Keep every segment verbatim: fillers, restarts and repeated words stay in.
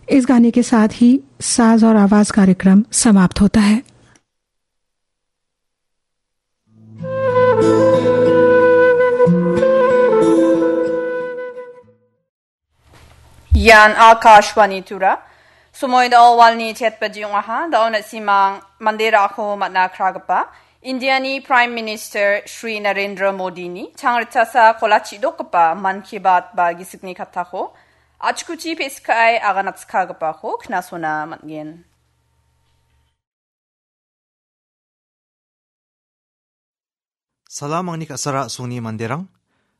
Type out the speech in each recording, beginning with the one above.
इस गाने के साथ ही साज और आवाज कार्यक्रम समाप्त होता है। Ian Akashvani Tura. Somoida walni chet baji ong·aha, da·o na·simang mande ra·ako man·a kragipa Indiani Prime Minister Shri Narendra Modini changritchasa kolachi dokgipa Mann Ki Baat ba gisikni kattako achkuchi pesikai aganatskagipako knasona man·gen. Salam angni ka·sara a·songni manderang.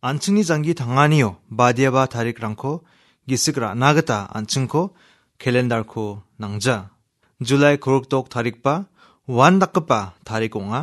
An·chingni janggi tanganio badiaba tarikrangko gisik ra·na gita an·chingko kelendarko nangja. Julai kurukdok tarikba uandakgipa tarik ong·a.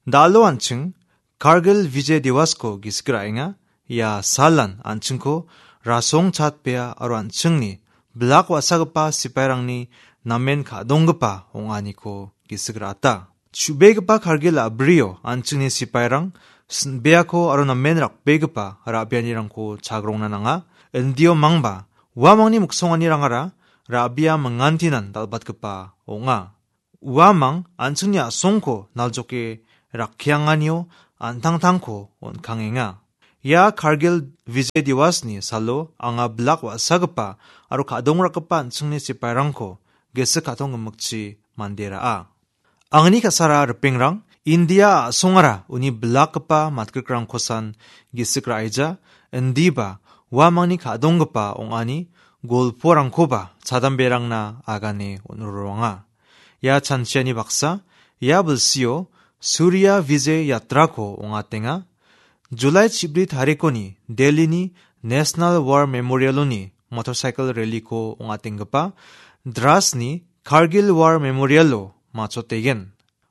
Da·alo an·ching Kargil Vijay Divasko gisik ra·enga. Ia salan an·chingko rasong chatbea aro an·chingni bilak wa·sagipa sipairangni namen ka·donggipa ong·aniko gisik ra·ata. Chubegipa Kargil a·brio an·chingni sipairang sin·beako aro namen rakbegipa ra·bianirangko chagrongna nanga. Indio mangba uamangni miksonganirangara ra·bia mingantinan dal·batgipa ong·a. Uamang an·chingni a·songko naljoke rakkianganio an·tangtangko on·kangenga. Ia Kargil Vijay Diwasni salo anga bilak wa·sagipa aro ka·dongrakgipa an·chingni sipairangko gisik ka·tong gimikchi mande ra·a. Angni ka·sara ripengrang, India a·songara uni bilakgipa matgrikrangkosan gisik ra·eja, indiba uamangni ka·donggipa ong·ani golporangkoba chadamberangna agane on·roroanga. Ia chanchiani baksa, ia bilsio Surya Vijay Yatrako ong·atenga. Julai chibri tarikoni Delhini National War Memorialoni motorcycle rallyko ong·atenggipa Drasni Kargil War Memorialo machotegen.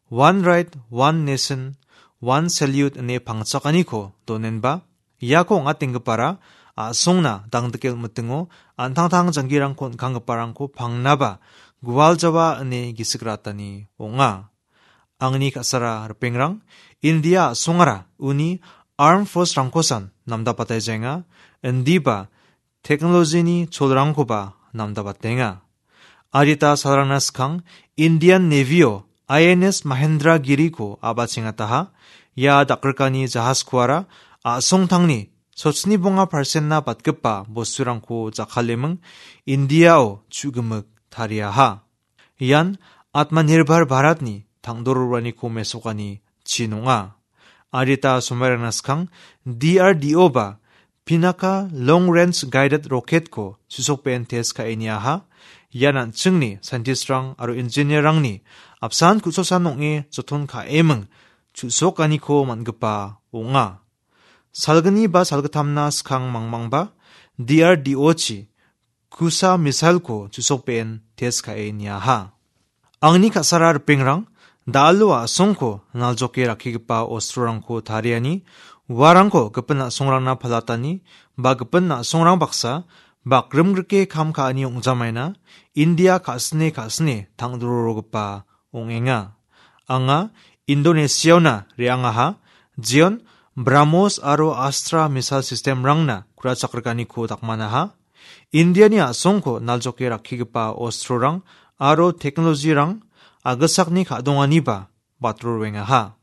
One Ride, One Nation, One Salute ine pangchakaniko donenba, iako ong·atenggipara a·songna dangdike on·mitingo an·tangtang janggirangko on·kanggiparangko pangnaba gualjawa ine gisik ra·atani ong·a. Angni ka·sara ripengrang, India a·songara uni armed force-rangkosan namdapataijaenga, indiba teknolojini cholrangkoba namdabatenga. Adita salrangna skang Indian Navy-o I N S Mahendra Giriko a·bachengataha. Ia dakrikani jahaskuara a·songtangni sochni bonga persen-na batgipa bosturangko jakkaleming India-o chu·gimik tariaha. Ian Atmanirbhar Bharatni tangdororaniko mesokani chin ong·a. Adita somairangna skang D R D O ba Pinaka Long Range Guided Rocket-ko chu·sokbe·en test ka·e niaha. Ian an·chingni scientist-rang aro engineer-rangni apsan ku·sosan ong·e joton ka·eming chu·sokaniko man·gipa ong·a. Salgni ba salgittamna skang mangmangba D R D O-chi Kusa missile-ko chu·sokbe·en test ka·e niaha. Angni ka·sara ripengrang, da·alo a·songko naljoke rakkigipa ostrorangko tariani, uarangko gipin a·songrangna palatani, ba gipin a·songrang baksa bakrimgrike kam ka·ani ong·jamaina, India ka·sine ka·sine tangdororogipa ong·enga. Anga Indonesia-ona re·angaha, jeon BrahMos aro Astra missile system-rangna ku·rachakrikaniko dakmanaha. Indiani a·songko naljoke rakkigipa ostrorang aro teknolojirang agisakni ka·donganiba batroruengaha.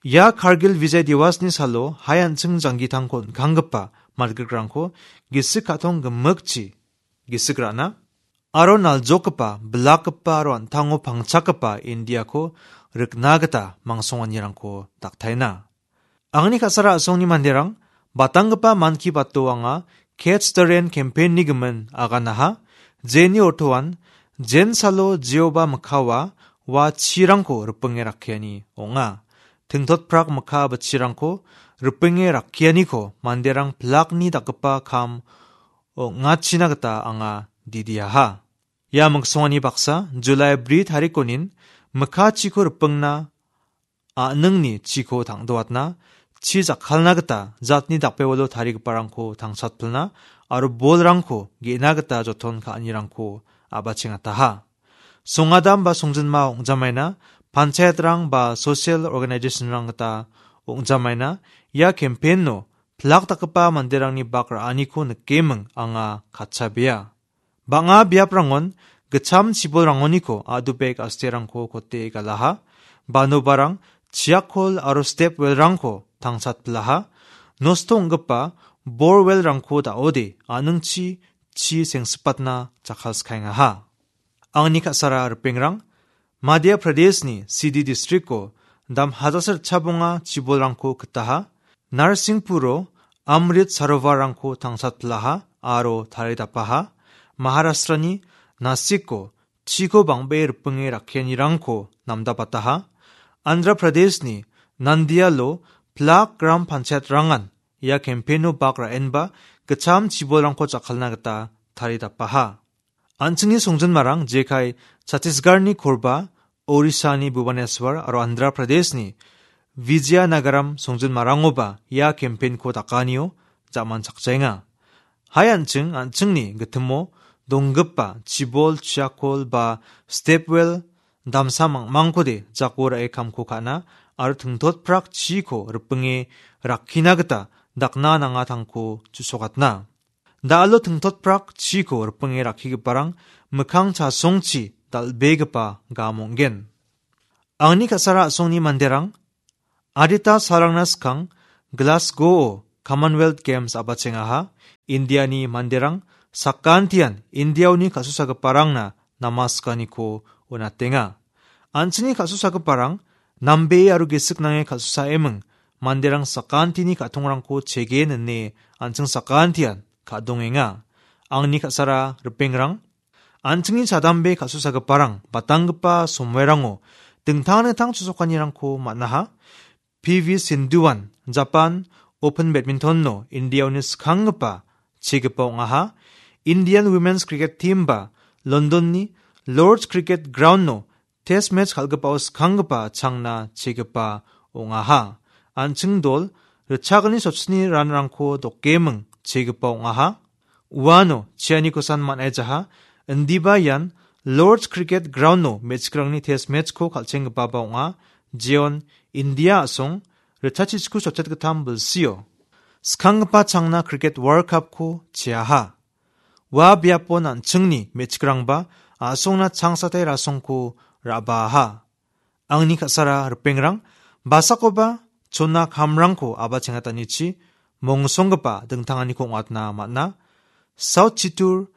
Ia Kargil Vijay Diwasni salo hai an·ching janggitangko on·kanggipa margikrangko gisik ka·tong gimikchi gisik ra·na aro naljokgipa, bilakgipa aro an·tango pangchakgipa Indiako rikna gita mangsonganirangko daktaina. Angni ka·sara a·songni manderang, batanggipa Mann Ki Bato anga Catch the Rain campaign-ni gimin aganaha, jeni ortoan, jen salo Jehoba mikkawa ua chirangko ripinge rakkiani ong·a. Tingtotprak mikka bitchirangko ripinge rakkianiko manderang pilakni dakgipa kam ong·achina gita anga didiaha. Ia miksongani baksa Julai bri tarikonin mikka chiko ripingna a·ningni chiko tangdoatna, chi jakkalna gita jatni dakbewalo tarigiparangko tangsatpilna aro bolrangko ge·na gita joton ka·anirangko a·bachengataha. Songadam ba songjinma ong·jamaina, panchayatrang ba social organization-rang gita ong·jamaina, ia campaign-o pilak dakgipa manderangni bak ra·aniko nikeming anga katchabea. Bang·a biaprangon gitcham chibolrangoniko a·dubek asterangko kote galaha, banobarang chiakol aro step welrangko tangsatpilaha, nosto ong·gipa bor welrangko da·ode a·ningchi chi sengsipatna jakkalskaengaha. Angni ka·sara ripengrang, Madhya Pradeshni Sidi districtko dam hajasa ritchabonga chibolrangko kitaha, Narsingpuro Amrit Sarovarrangko tangsatpilaha aro taridapaha, Maharashtrani Nasikko chiko bang·bee ripinge rakkianirangko namdapataha, Andhra Pradeshni Nandialo plak Gram Panchayatrangan ia campaigno bak ra·enba gitcham chibolrangko jakkalna gita taridapaha. An·chingni songjinmarang jekai Chhattisgarhni Korba, Orissani Bhubaneswar aro Andhra Pradeshni Vizianagaram songjinmarangoba ia campaignko dakanio jamanchakjaenga. Hai an·ching, an·chingni gitimo donggipa chibol, chiakol ba step well damsa mangmangkode jako ra·e kamko ka·na aro tingtotprak chiko ripinge rakkina gita dakna nangatangko chu·sokatna. Da·alo tingtotprak chiko ripinge rakkigiparang mikkang chasongchi dal·begipa gam ong·gen. Angni ka·sara a·songni manderang adita salrangna skang Glasgow-o Commonwealth Games a·bachengaha, Indiani manderang sakantian Indiaoni ka·susagiparangna namaskaniko on·atenga. An·chingni ka·susagiparang nambee aro gisik nange ka·susaeming manderang sakantini ka·tongrangko chege nine an·ching sakantian ka·dongenga. Angni ka·sara ripengrang, an·chingni chadambe ka·susagiparang batanggipa somairango dingtang dingtang chu·sokanirangko man·aha. P V Sindhuan Japan Open Badminton-o Indiaoni skanggipa chegipa ong·aha. Indian Women's Cricket Team-ba London-ni Lord's Cricket Ground-o Test match kal·gipao skanggipa changna chegipa ong·aha. An·ching dol ritchakani sotchini ranrangko dokeming chegipa ong·aha. Uano chianikosan man·aijaha, indiba ian Lord's Cricket Ground-o me·chikrangni test match-ko kal·chenggipaba ong·a, jeon India a·song ritchachiko sotchet gittam bilsio skanggipa changna Cricket World Cup-ko cheaha. Ua biapo an·chingni me·chikrangba a·songna changsatai rasongko ra·baaha. Angni ka·sara ripengrang, basakoba chona kamrangko aba·chengatanichi mongsonggipa dingtanganiko ong·atna man·a. South Chittoor,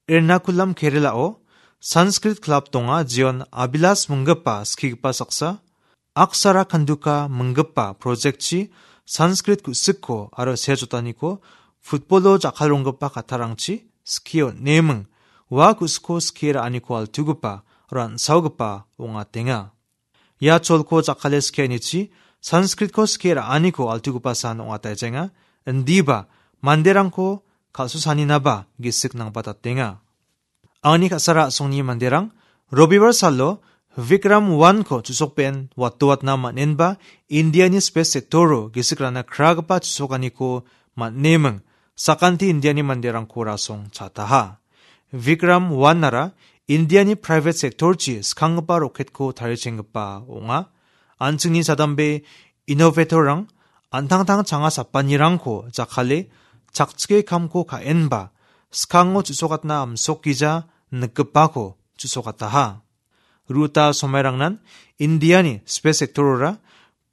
Ernakulam Kerala-o Sanskrit Club donga, jeon Abhilash minggipa skigipa saksa, Aksara Kanduka minggipa project-chi Sanskrit ku·sikko aro sejotaniko football-o jakkalronggipa kattarangchi skie on·eming, ua ku·sikko skie ra·aniko altugipa aro an·saogipa ong·atenga. Ia cholko jakkale skianichi Sanskritko skie ra·aniko altugipa san ong·ataijenga, indiba manderangko kal·susaninaba gisik nangpatatenga. Angni ka·sara a·songni manderang Robibar salo Vikram one-ko chu·sokben watdoatna man·enba Indiani space sector-o gisik rana kragipa chu·sokaniko man·eming, sakanti Indiani manderangko rasong chataha. Vikram one-ara Indiani private sector-chi skanggipa rocket-ko tarichenggipa ong·a. An·chingni chadambe innovator-rang an·tangtang changa sapanirangko jakkale chakchike kamko ka·enba skango chu·sokatna amsokgija nikgipako chu·sokataha. Ruta somairangnan Indiani space sector-ora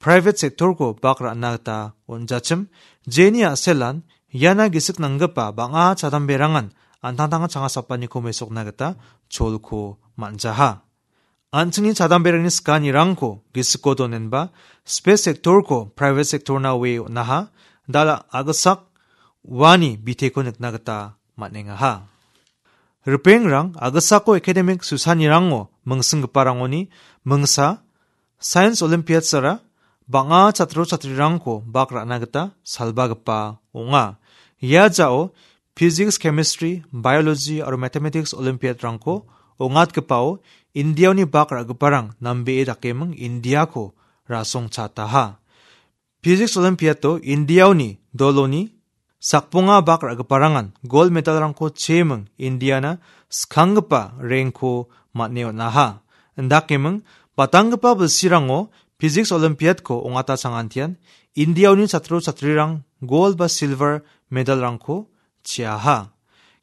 private sector-ko bak ra·na gita on·jachim, jeni a·selan iana gisik nanggipa bang·a chadamberangan an·tangtang changa sapaniko mesokna gita cholko man·jaha. An·chingni chadamberangni skanirangko gisiko donenba space sector-ko private sector-na oe on·aha, dala a·gisak uani biteko nikna gita man·engaha. Ripengrang a·gisako academic susanirango mingsinggiparangoni mingsa Science Olympiads-ara bang·a chatro chatrirangko bak ra·na gita salbagipa ong·a. Ia jao Physics, Chemistry, Biology aro Mathematics Olympiad-rangko ong·atgipao Indiaoni bak ra·giparang nambee dakeming Indiako rasong chataha. Physics Olympiad-o Indiaoni doloni sakbonga bak ra·giparangan gold medal-rangko cheming Indiana skanggipa rank-ko man·e on·aha. Indakeming batanggipa bilsirango Physics Olympiad-ko ong·ata changantian Indiaoni chatro chatrirang gold ba silver medal-rangko cheaha.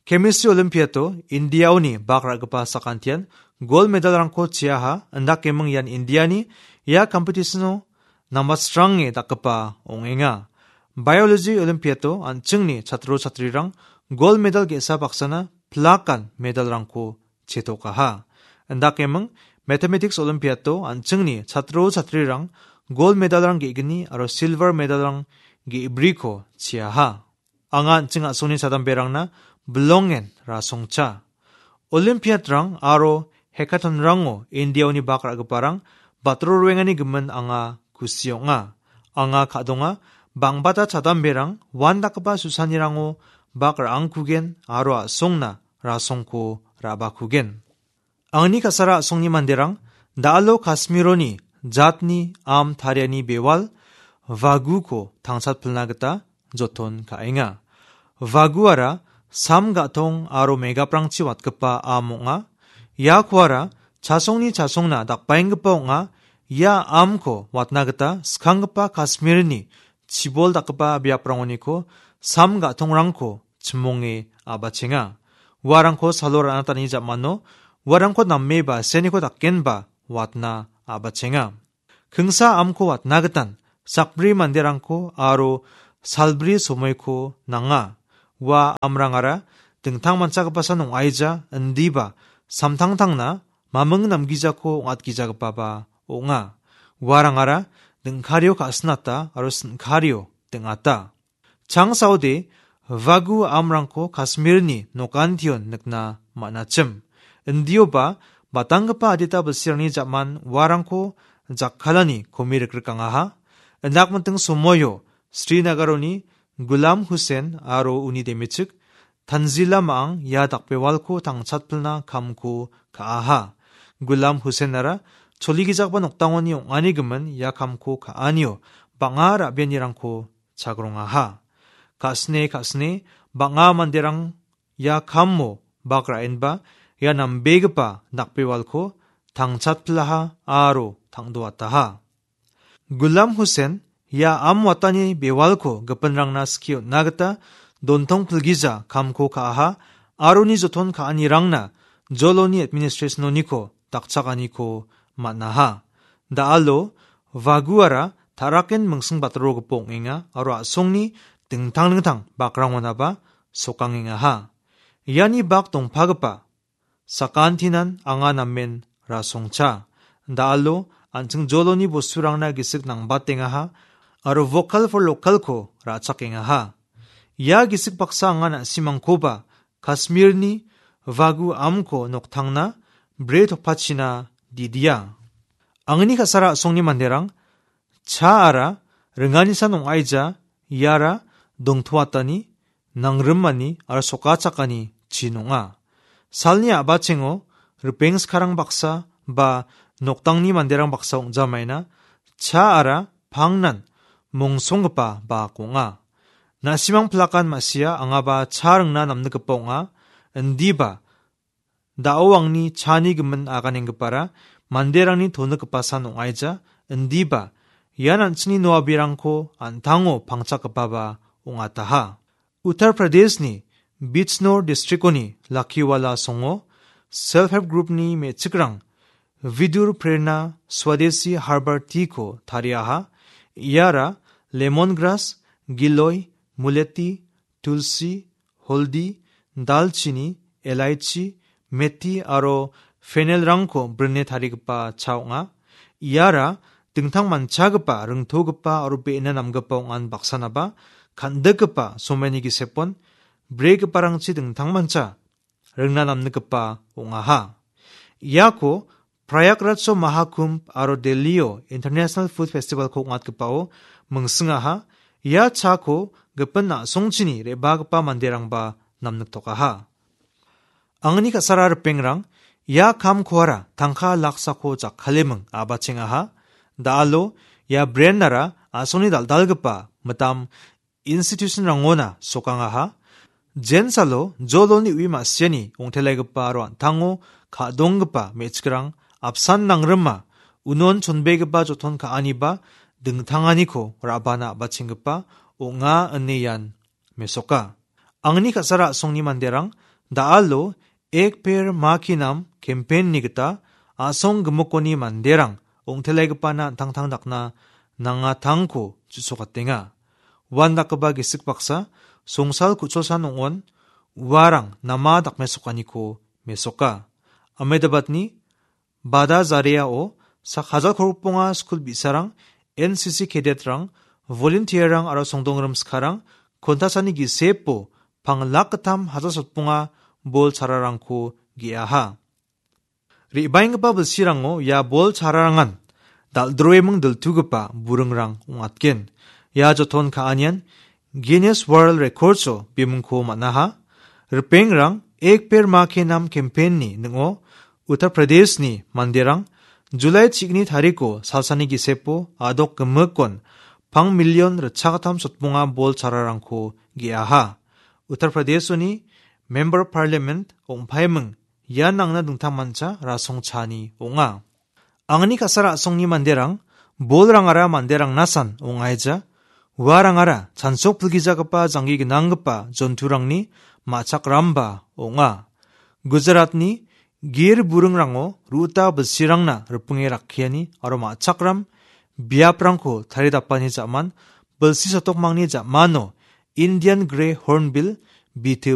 Chemistry Olympiado Indiaoni bak ra·gipa sakantian gold medalrangko cheaha, indakeming ian Indiani ia competitiono nambatrange dakgipa ong·enga. Biology Olympiado an·chingni chatro chatrirang gold medal ge·sa baksana plakan medalrangko chetokaha. Indakeming Mathematics Olympiado an·chingni chatro chatrirang gold medalrang ge·gni aro silver medalrang ge·briko cheaha. Anga an·ching a·songni chadamberangna bilongen rasongcha. Olympiadrang aro hackathonrango Indiaoni bak ra·giparang batro roengani gimin anga kusi ong·a. Anga ka·donga, bang·bata chadamberang uandakgipa susanirango bak ra·angkugen aro a·songna rasongko ra·bakugen. Angni ka·sara a·songni manderang da·alo Kasmironi jatni am tariani bewal Vaguko tangchatpilna gita joton ka·enga. Vaguara sam ga·tong aro megaprangchi watgipa am ong·a. Ia kuara chasongni chasongna dakbaenggipa ong·a. Ia amko watna gita skanggipa Kasmirni chibol dakgipa biaprangoniko sam ga·tongrangko chimonge a·bachenga. Uarangko salo ra·natani jamano uarangko name ba seniko dakenba watna a·bachenga. Kingsa amko watna gitan sakbri manderangko aro salbri somoiko nanga. Ua amrangara dingtang manchagipasa ong·aija, indiba samtangtangna maming namgijako ong·atgijagipaba ong·a. Uarangara dingkario ka·sinata aro sin·kario ding·ata. Changsaode Vagu amrangko Kasmirni nokantion nikna man·achim. Indioba batanggipa adita bilsirangni jaman uarangko jakkalani komi rikrikangaha. Indakmiting somoio Srinagaroni Gulam Hussein aro uni demechik Tanzila Ma·ang ia dakbewalko tangchatpilna kamko ka·aha. Gulam Husseinara choligijagipa noktangoni ong·ani gimin ia kamko ka·anio bang·a ra·bianirangko chagrongaha. Ka·sine ka·sine bang·a manderang ia kamo bak ra·enba ia nambegipa dakbewalko tangchatpilaha aro tangdoataha. Gulam Hussein ia am watani bewalko gipinrangna skie on·na gita dontong pilgija kamko ka·aha aro uni joton ka·anirangna joloni administration-oniko dakchakaniko man·aha. Da·alo Vaguara taraken mingsing batrogipa ong·enga aro a·songni dingtang dingtang bakrangonaba sokangengaha. Iani bak dongpagipa sakantinan anga namen rasongcha. Da·alo an·ching joloni bosturangna gisik nangbatengaha aro Vocal for Local-ko ra·chakengaha. Ia gisik baksa anga na·simangkoba Kasmirni Vagu amko noktangna bre topachina didia. Angni ka·sara a·songni manderang, chaara ringani san ong·aija, iara dongtoatani, nangrimani aro sokachakani chin ong·a. Salni a·bachengo ripeng skarang baksa ba noktangni manderang baksa ong·jamaina, chaara pangnan mongsonggipa bak ong·a. Na·simang plakan ma·sia angaba cha ringna namnikgipa ong·a, indiba da·o angni chani gimin aganenggipara manderangni tonikgipa san ong·aija, indiba ian an·chingni noabirangko an·tango pangchakgipaba ong·ataha. Uttar Pradeshni Bijnor districtoni Lakiwala songo Self Help Groupni me·chikrang Vidur Prerna Swadeshi Herbal Tea-ko tariaha. Iara lemon grass, giloi, muleti, tulsi, holdi, dalchini, elaichi, meti aro fennel-rangko brine tarigipa cha ong·a. Iara dingtang manchagipa, ringtogipa aro be·ena namgipa ong·an baksanaba kan·dikgipa somaini gisepon bregiparangchi dingtang mancha ringna namnikgipa ong·aha. Iako Prayagraj-o Mahakumbh aro Delhi-o International Food Festival-ko ong·atgipao mingsingaha. Ia chako gipin a·songchini re·bagipa manderangba namniktokaha. Angni ka·sara ripengrang, ia kamkoara tangka laksako jakkaleming a·bachengaha. Da·alo ia brand-ara a·songni dal·dalgipa mitam institution-rangona sokangaha. Jensalo joloni ui ma·siani ong·telaigipa aro an·tango ka·donggipa me·chikrang apsan nangrima, unon chonbegipa joton ka·aniba dingtanganiko ra·bana a·bachenggipa ong·a ine ian mesoka. Angni ka·sara a·songni manderang Da·alo Ek Ped Maa Ke Naam campaign-ni gita a·song gimikoni manderang ong·telagipana an·tangtang dakna nangatangko chu·sokatenga. Uandakgipa gisik baksa songsal ku·cholsan ong·on uarang nama dakmesokaniko mesoka. Ahmedabadni Bada Zareao sak hajal kolgrikonga skul bi·sarang, N C C cadet-rang, volunteer-rang aro songdongrim sikarang kontasani gisepo pang lak gittam hajal sotbonga bol chararangko ge·aha. Re·baenggipa bilsirango ia bol chararangan dal·droeming diltugipa buringrang ong·atgen. Ia joton ka·anian Guinness World Records-o bimingko man·aha. Ripengrang Ek Ped Maa Ke Naam campaign-ni ning·o Uttar Pradeshni manderang July chigni tariko salsani gisepo a·dok gimikon pang million ritchakgittam sotbonga bol chararangko ge·aha. Uttar Pradeshoni Member of Parliament ong·paiming ian nangna dingtangmancha rasongchani ong·a. Angni ka·sara a·songni manderang, bolrangara manderangna san ong·aija. Uarangara chansok pilgijagipa janggi gnanggipa jonturangni ma·chakramba ong·a. Gujaratni gir buringrango ruta bilsirangna ripengrangni rakkiani aro ma·chakram biaprangko taridapani ja·man bilsi sotokmangni ja·mano Indian Grey Hornbill bitio